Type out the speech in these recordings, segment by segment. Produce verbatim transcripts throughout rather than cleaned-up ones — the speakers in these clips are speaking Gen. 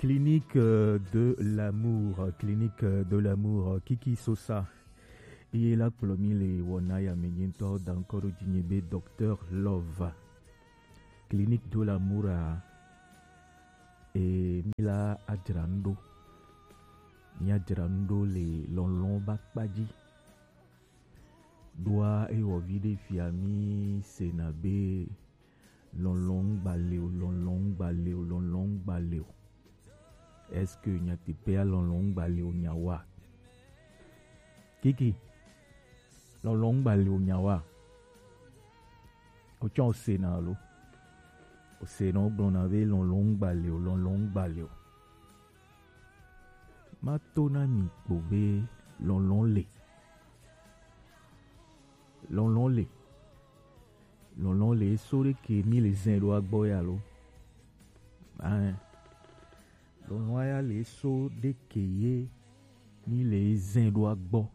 Clinique euh, de l'amour, clinique euh, de l'amour, euh, Kiki Sosa. Iye la kplɔ mi le wɔna ya me nye ŋutɔ da ŋkɔ ɖo dzi nye be Docteur Love. Clinique de l'amour a e mi la adzra nu ɖo. Mi adzra nu ɖo le lɔlɔ̃ ba kpa dzi. Ɖoa ewɔ vi ɖe fia mi sena be lɔlɔ̃ ŋgba le o, lɔlɔ̃ ŋgba le o, lɔlɔ̃ ŋgba le o. Est-ce que nyateƒea lɔlɔ̃ ŋgba le o nyawoa? Kiki, lɔlɔ̃ ŋgba le o nyawoa? Otsɔ osena alo? Osena wogblɔna be lɔlɔ̃ ŋgba le o, lɔlɔ̃ ŋgba le o. Mato na mi kpo be lɔlɔ̃ le. Lɔlɔ̃ le. Lɔlɔ̃ le eso ɖe ke mi le zɛn ɖo agbɔ ya lo. Ae. Lɔlɔ̃ ya le eso ɖe ke ye mi le zɛn ɖo agbɔ.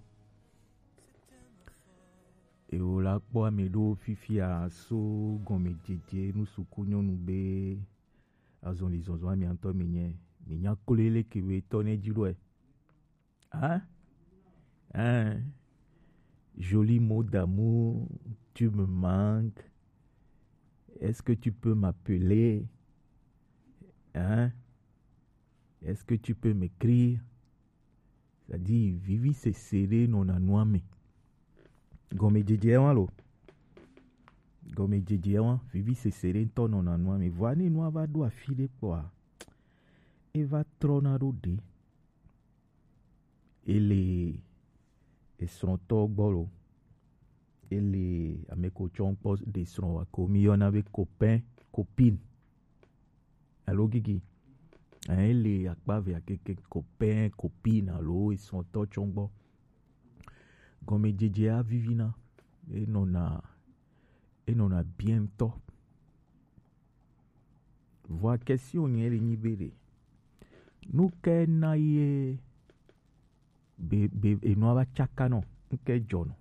Ewo la kpɔ ame ɖo fifia so gɔmedzedze nu suku nyɔnu be azɔli zɔzɔ ame ŋutɔ mi nye mi nya klo ele ke we tɔ ne dzi ɖoe. Hein? Hein? Joli mot d'amour, tu me manques. Est-ce que tu peux m'appeler? Hein? Est-ce que tu peux m'écrire? C'est-à-dire, vivi sese ɖe nɔna nua me. Gɔmedzedze wa lo. Gɔmedzedze wa, vivi sese ɖe ŋutɔ nɔna nua me. Vɔa ne nua va ɖo afi ɖe kpɔa, eva trɔna ɖo ɖe. Ele esrɔ̃tɔ gbɔ lo. Ele ame ko tsɔ kpɔ ɖe srɔ̃ wa ko mi yɔna be copain, copine. Alo Gigi. Hein, ele akpa evea keke copain, copine alo esrɔ̃tɔ tsɔ gbɔ. Gɔmedzedzea vivina. Enɔna, enɔna bien ŋutɔ. Vɔa question nye le nyi be ɖe. Nu ke na ye be, be, enua va tsaka nɔ, nu ke dzɔ nɔ.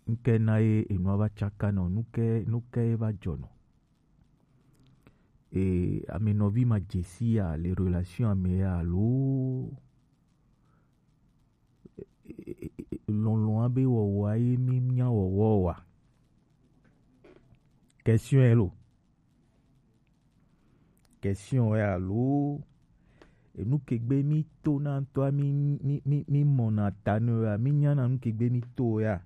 Nu ke na ye enua va tsaka nɔ, nu ke, nu ke va dzɔ nɔ. E, ame nɔvi ma dzesi ya le relation ame ya alo lɔlɔ̃a be wɔwɔa ye mi nya wɔwɔ wa? Question elo. Question ya alo enu ke gbe mi to na ŋutɔa mi, mi, mi, mi mɔna ta ne ya, mi nyana nu ke gbe mi to ya.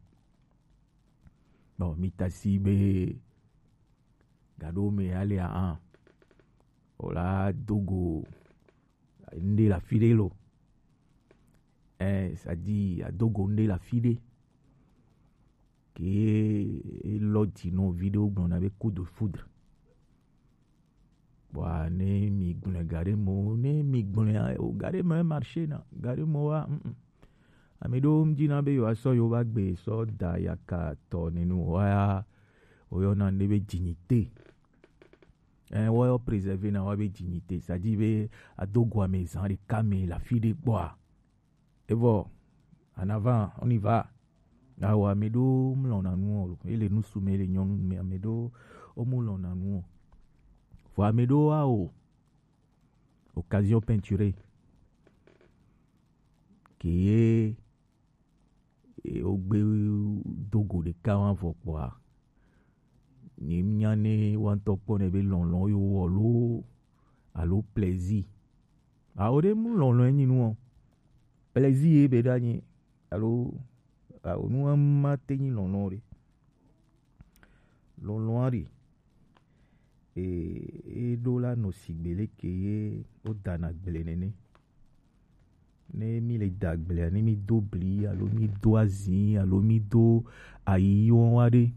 Bon, mi tasi be gaɖo me ya le a o la dogo ŋɖe le afi ɖe lo. Ɛ, c'est-à-dire adogo ŋɖe le afi ɖe. Ke elɔ dzi nɔ vi ɖewo gblɔna be coup de foudre. Bɔa ne mi gblɔe ga ɖe mo, ne mi gblɔe o ga ɖe me marché na, ga ɖe mo wa, mm, mm. Ame ɖewo ŋdzi na be yewoasɔ yewo va gbe sɔ da yaka tɔ nenu wa ya, woyɔna ne be dignité. Ɛ, woyɔ préserver na wa be dignité, c'est-à-dire be adogo ame zã ɖeka me le afi ɖe kpɔa. Evɔ, en avant, on y va. Awo ame ɖewo mlɔna nu o, ele ŋutsu me, ele nyɔnu me, ame ɖewo womlɔna nu o. Vɔ ame ɖewo wa o, occasion peinturée. Ke ye e, wogbe dogo ɖeka wa vɔ kpɔa, ni nya ne wa ŋutɔ kpɔ ne be lɔlɔ̃ yo wɔ lo alo plaisir. Awo ɖe mu lɔlɔ̃ enyi nu o. Plaisir ye be ɖa nyi alo awo nu ma te nyi lɔlɔ̃ ɖe. Lɔlɔ̃a ɖe e, e ɖo la nɔ sigbe leke ye wodana gble nene. Ne mi le da gblea, ne mi do bli alo mi do azi alo mi do ayi wɔn wa ɖe,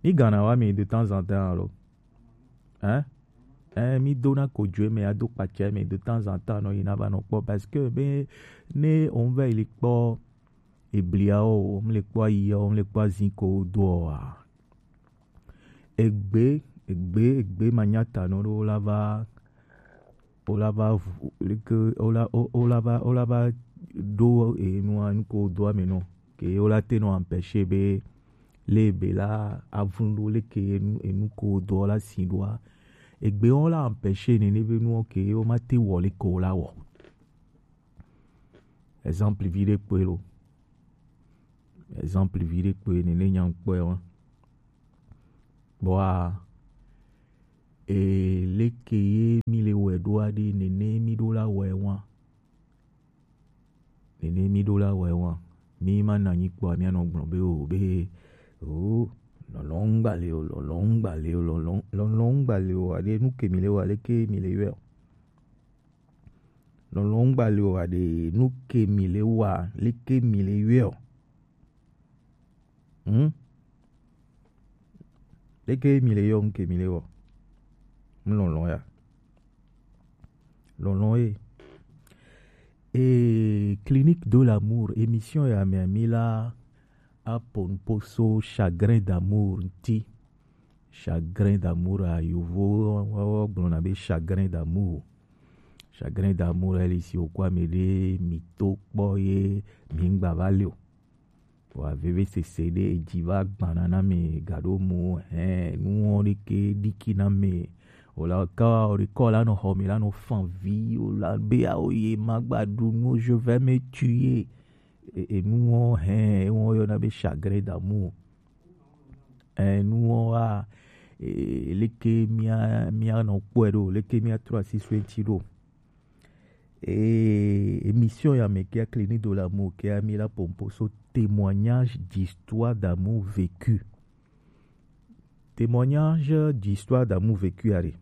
mi gana wa mi de temps en temps alo, hein? Hein, mi do na kojoe me ado kpatsa me de temps en temps nɔ yina va nɔ kpɔ parce que be ne on va ili kpɔ ebliawo, on le kpɔ ayiawo, on le kpɔ azi ko doa. Egbe, egbe, egbe manyata no ɖo la va, o la va, leke, o la, o, o la va, o la va ɖo enua, nu ko doa me no. Ke o la te no empêcher be, le be la avun ɖo leke enu, enu ko doa la si ɖoa. Egbe wɔn la empêcher nene be nuwo ke wo ma te wɔ le ko la wɔ. Exemple vi ɖe kpoe lo. Exemple vi ɖe kpoe nene nya kpɔe wa. Bɔa, e leke ye mi le wɛ ɖo aɖe nene mi ɖo la wɛ wa. Nene mi ɖo la wɛ wa. Mi ma na nyi kpɔa mi anɔ gblɔ be o be o lɔlɔn gba le o lɔlɔn gba le o lɔlɔn lɔlɔn gba le o aɖe nu ke mi le wa leke mi le yɔ. Lɔlɔn gba le o aɖe nu ke mi le wa leke mi le yɔ. Hmm? Leke mi le yɔ nu ke mi le wɔ. Mu lɔlɔn ya. Lɔlɔn ye. E Clinique de l'amour, émission ya mi ami la apon poso chagrin d'amour nti. Chagrin d'amour a yovo wa gblɔna be chagrin d'amour. Chagrin d'amour eli si wokɔ ame ɖe mi to kpɔ ye mi ŋgba va le o. Wa veve sese ɖe edzi va gbana na me gaɖo mu hɛn nuwo ɖeke ɖiki na me. Wòle ka wòle kɔ la nɔ xɔ me la nɔ fan vi wòle be awo ye ma gba ɖu nu je vais me tuer. Enuwo hɛn ewo yɔna be chagrin d'amour. Enuwo wa leke mia mia nɔ kpɔe ɖo leke mia trɔ asi so eti ɖo. Et émission ya me kia Clinique de l'amour kia mi la pompo so témoignage d'histoire d'amour vécu. Témoignage d'histoire d'amour vécu are.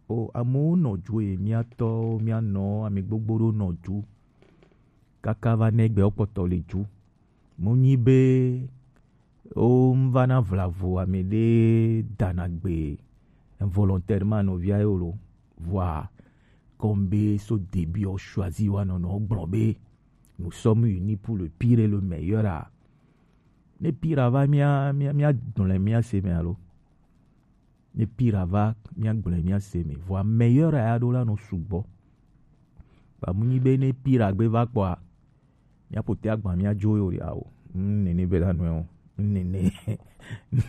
O amewo nɔ ju ye mia tɔwo mia nɔ ame gbogbo ɖo nɔ ju kaka va ne gbe wokpɔtɔ le ju. Mu nyi be wo ŋu va na vlavo ame ɖe dana gbe involontairement nɔvia ye lo. Vɔa comme be so début o choisi wa nɔnɔ gblɔ be nous sommes unis pour le pire et le meilleur a. Ne pire va mia mia mia gblẽ mia se me alo. Ne pire va mia gblẽ mia se me. Vɔa meilleur a ya ɖo la nɔ sugbɔ. Ba mu nyi be ne pire gbe va kpɔa mia pote agba mia dzo yo ya o. Nene be la nɔ o. Nene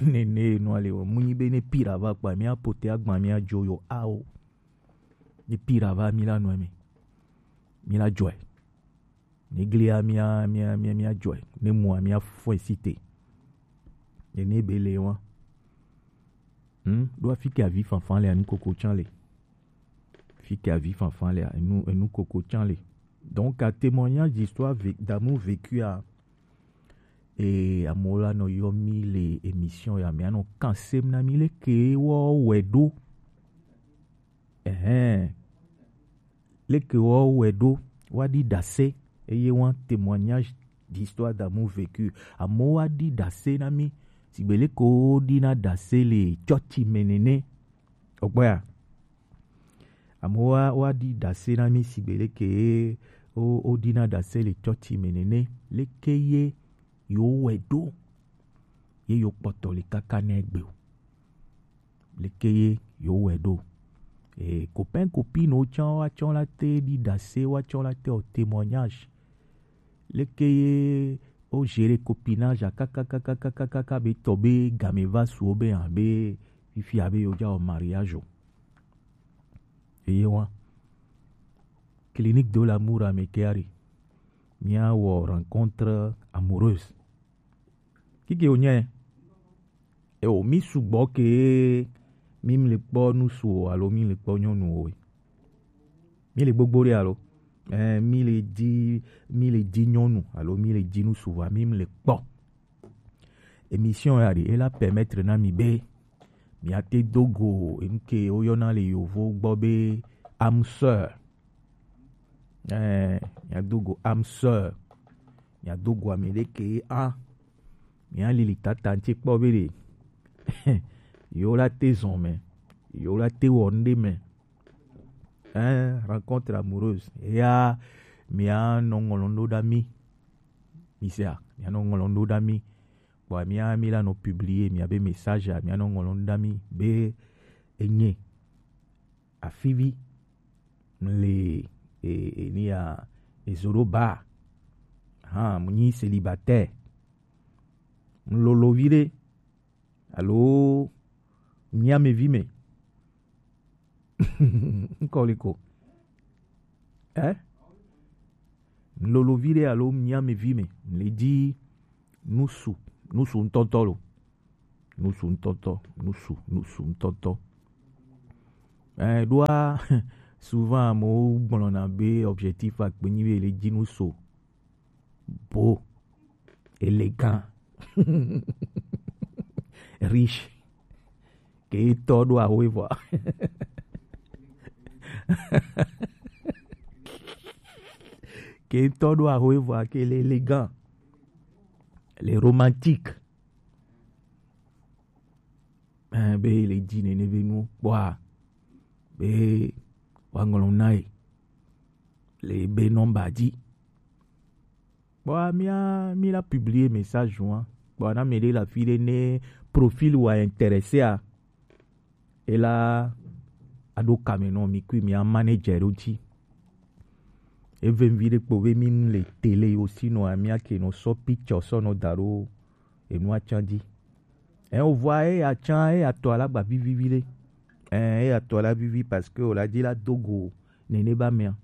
nene no ale o. Mu nyi be ne pire va kpɔa mia pote agba mia dzo yo a o. Ne pire va mi la nɔ me. Mi la dzɔe. Ne glia mia mia mia mia dzɔe. Ne mua mia fɔe site. Nene be le wa. Hmm? Ɖo afi ke avi fanfan le anu koko tsan le. Fi ke avi fanfan le anu anu koko tsan le. Donc à témoignage d'histoire d'amour vécu a e amewo la nɔ yɔ mi le émission ya me anɔ kan sem na mi leke wɔ wɛ ɖo. Ɛhɛn. Leke wɔ wɛ ɖo wa ɖi dase eye wa témoignage d'histoire d'amour vécu amewo wa ɖi dase na mi sigbe leke wo ɖi na dase le tsɔtsi me nene. Ɔgbɔya. Amewo wa wa ɖi dase na mi sigbe leke wo wo ɖi na dase le tsɔtsi me nene leke ye yo wɛ ɖo ye yo kpɔtɔ le kaka ne gbe o. Leke ye yo wɛ ɖo. E copain copine wo tsã wa tsã la te ɖi dase wa tsã la te o témoignage. Leke ye o gérer copinage a kaka kaka kaka kaka be tɔ be game va su wo be hã be fifia be yo dza wɔ mariage o. Eye wa clinique de l'amour ame ke ari mia wɔ rencontre amoureuse. Kike wònye? Eo, mi sugbɔ ke mi le kpɔ nusu o alo mi le kpɔ nyɔnu o? Mi le gbogbo ɖe alo? Eh, mi le dzi mi le dzi nyɔnu alo mi le dzi nusu vɔa mi le kpɔ. Émission ya ɖe ela permettre na mi be miate do go enu ke woyɔna le yovo gbɔ be âme sœur. Eh, miado go âme sœur. Miado go ame ɖe ke a. Mialili tata ŋuti kpɔ be ɖe. Yewo la te zɔn me. Yewo la te wɔ nu ɖe me. Eh, rencontre amoureuse. Ya mianɔ ŋlɔn ɖo ɖa mi. Mi sea, mianɔ ŋlɔn ɖo ɖa mi. Kpɔa mia mi la nɔ publier miabe message a mianɔ ŋlɔn ɖo ɖa mi be enye afivi mle e, e, ni ya ezo ɖo ba ha mu nyi célibataire mu lolo vi ɖe alo nyi amevi me Nkɔ le ko. Eh? Lolo vi ɖe alo mía me vi me. Le dzi nusu, nusu ŋutɔtɔ lo. Nusu ŋutɔtɔ, nusu, nusu ŋutɔtɔ. Eh, ɖoa, souvent amewo gblɔna be objectif akpe nyi be le dzi nusu. Beau, élégant, riche. Ke tɔ ɖo ahoe vɔa. Ke tɔ ɖo ahoe vɔa ke le élégant, le romantique. Eh, be le dzi nene be nu kpɔa, be wa ŋlɔ na ye le be nɔmba dzi. Kpɔa mía, mí la publier message wa. Kpɔa na me ɖe la fi ɖe ne profil wa intéressé a, e la aɖo kame nɔ mi kui mía manager ɖo dzi. Eve vi ɖe kpo be mi le télé yo si nɔ a mía ke nɔ sɔ picture sɔ nɔ da ɖo enua can dzi. Ɛ o vɔa e ya can e ya tɔ ala gba vivi vi ɖe. Ɛ e ya tɔ ala vivi parce que o la dzi la do go nene ba mea.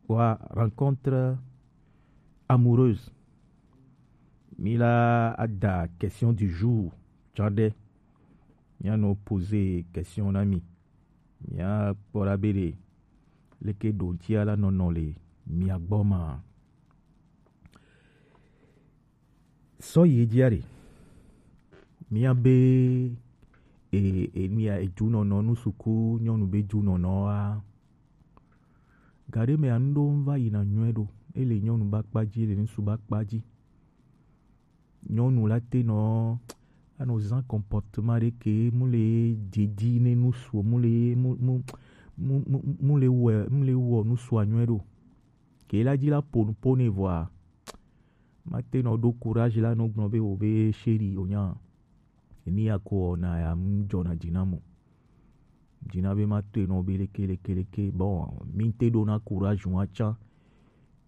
Wa rencontre amoureuse. Mi la ada question du jour. Tsɔ ɖe. Mía nɔ poser question na mi. Mía kpɔ ɖa be ɖe leke ɖo ŋutia la nɔnɔ le mia gbɔ ma. Sɔ yi edzia ɖe. Mía be e e mía ejunɔnɔ nu suku nyɔnu be junɔnɔ wa. Gaɖe mea nu ɖo ŋu va yina nyuie ɖo. Ele nyɔnu ba kpa dzi, ele ŋsu ba kpa dzi. Nyɔnu la te nɔ anɔ zã comportement ɖe ke mu le didi ne nusu mu le mu mu mu mu mu le wɔ mu le wɔ nusua nyuie ɖo. Ke la dzi la ƒo nu ƒo nɛ vɔa, ma te nɔ ɖo courage la nɔ gblɔ be o be chéri o nya. Eni ya ko na ya mu dzɔna dzi na mo. Dzi na be ma toe nɔ be leke leke leke. Bon, mi te ɖo na courage wa tsã.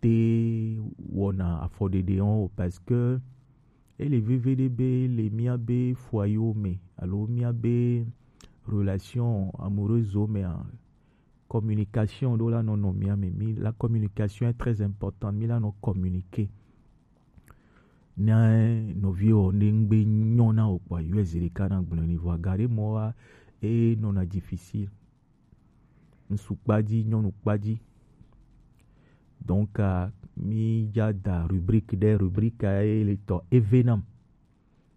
Te wɔna afɔɖeɖe wɔn o parce que ele veve ɖe be le mía be foyer me alo mía be relation amoureuse mea, communication ɖo la nɔ nɔ mía me. Mi la communication est très importante. Mi la nɔ communiquer. Ne nɔviwo ne ŋgbe nyɔ na o kpɔa, yɔe zi ɖeka na gblɔ ni vɔa gaɖe mɔ wa e nɔna difficile. Ŋsu kpa dzi, nyɔnu kpa dzi. Donc, ah, mi dza da rubrique ɖe, rubrique ye le tɔ eve nam.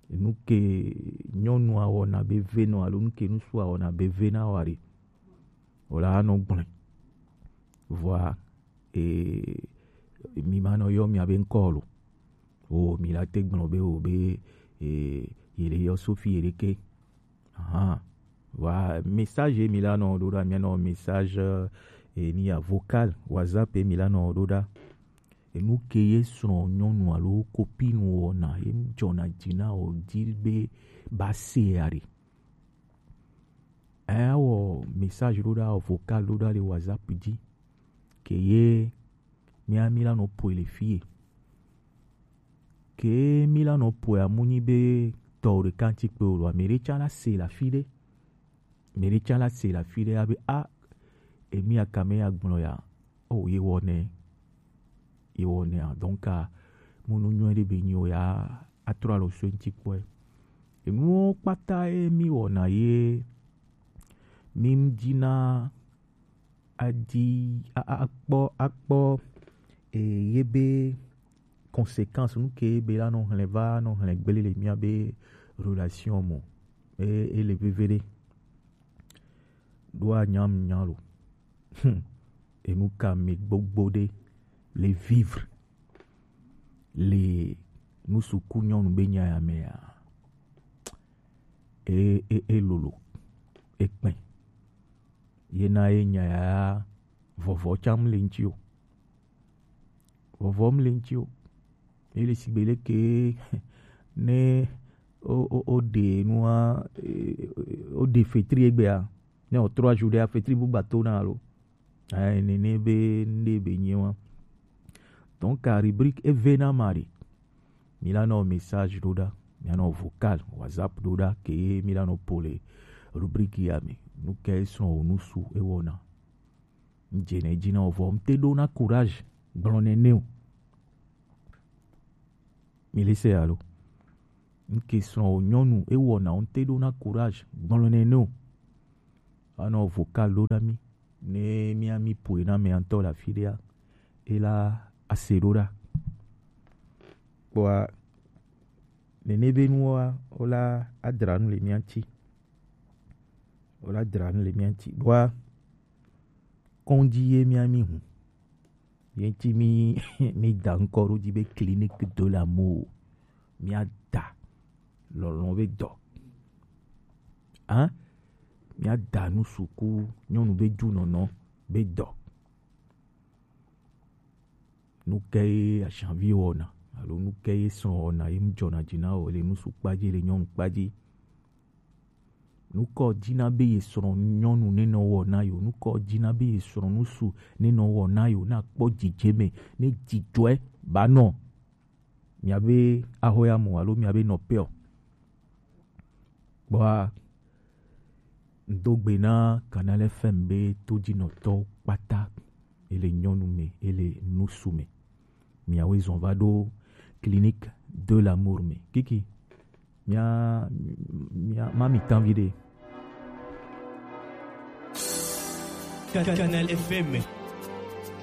Nu ke nyɔnua wɔna be ve nɔ alo nu ke ŋsua wɔna be ve na wa ɖe. O la anɔ gblɔe. Vɔa, e, mi ma nɔ yɔ mia be ŋkɔ lo. O mi la te gblɔ be o be, e, ye le yɔ Sophie ye ɖeke. Ahan. Wa message mi la nɔ ɖo ɖa, mia nɔ message, e, ni ya vocal, WhatsApp mi la nɔ ɖo ɖa. Enu ke ye srɔ̃ nyɔnu alo copine wɔna ye dzɔna dzi na o di be ba se ya ɖe. Ewɔ message ɖo ɖa, vocal ɖo ɖa le WhatsApp dzi. Ke ye mía mi la nɔ ƒoe le fie. Ke mi la nɔ ƒoe amu nyi be tɔ ɖeka ŋuti kpe o, ame ɖe tsã la se le afi ɖe. Ame ɖe tsã la se le afi ɖe abe a, emi akame ya gblɔ ya. O ye wɔ nɛ. Ye wɔ nɛ. Donc, a, mu nu nyuie ɖe be nyi o ya atrɔ alo so ŋuti kpɔe. Enuwo kpata ye mi wɔna ye mi dzi na adi a- a- akpɔ akpɔ e, ye be conséquence nu ke be la nɔ hlɛ va nɔ hlɛ gbele le mia be relation mo e, e le veve ɖe ɖo anyam nya lo. Hmm. Enu ka mi gbogbo ɖe le vivre le nusuku nyɔnu be nya ya mea? E, e, e lolo, e kpɛ. Ye na ye nya ya vɔvɔ tsam le ŋuti o. Vɔvɔ mu le ŋuti o. Ye le sigbe leke ne o, o, o ɖe nua, e, o ɖe fetri egbea, ne o trois jours ɖea, fetri bu gbato na alo. Ayi, nene be, nde be nyi wa. Donc, a rubrique eve na ma ɖe. Mi la nɔ message ɖo ɖa, mi la nɔ vocal, WhatsApp ɖo ɖa, ke mi la nɔ ƒo le rubrique ya me. Nu ke srɔ̃ wò nusu ewɔna? Ŋdze ne dzi na wò vɔ ŋte ɖo na courage gblɔ nɛ nɛ o. Mi le se alo? Ŋke srɔ̃ wò nyɔnu ewɔna ŋte ɖo na courage gblɔ nɛ nɛ o. Anɔ vocal ɖo na mi ne mia mi ƒoe na mea ŋutɔ le afi ɖea, ela ase ɖo ɖa. Kpɔa nene be nuwoa wola adra nu le mia ŋuti. Wola dra nu le mia ŋuti ɖoa kɔndzi ye mia mi hu. Ye ŋuti mi mi da ŋkɔ ɖo dzi be clinique de l'amour. Mia da lɔlɔ̃ be dɔ. Hein? Mia da nu suku nyɔnu be dzunɔnɔ be dɔ. Nu ke ye ashavi wɔna alo nu ke ye srɔ̃ wɔna ye ŋdzɔna dzi na wò le nusu kpadzi le nyɔnu kpadzi? Nukɔ dina be ye srɔ̃ nyɔnu ne nɔ wɔ na yo, nukɔ dina be ye srɔ̃ nusu ne nɔ wɔ na yo, na kpɔ dzidzeme ne dzidzɔe ba nɔ miabe ahoya mo alo miabe nɔƒe o. Kpɔa ŋdo gbe na Canal F M be todzinɔtɔwo kpata, ele nyɔnu me, ele nusu me. Miawoe zɔn va ɖo Clinique de l'amour me. Kiki, mia mia ma mi tan viɖe. Canal F M.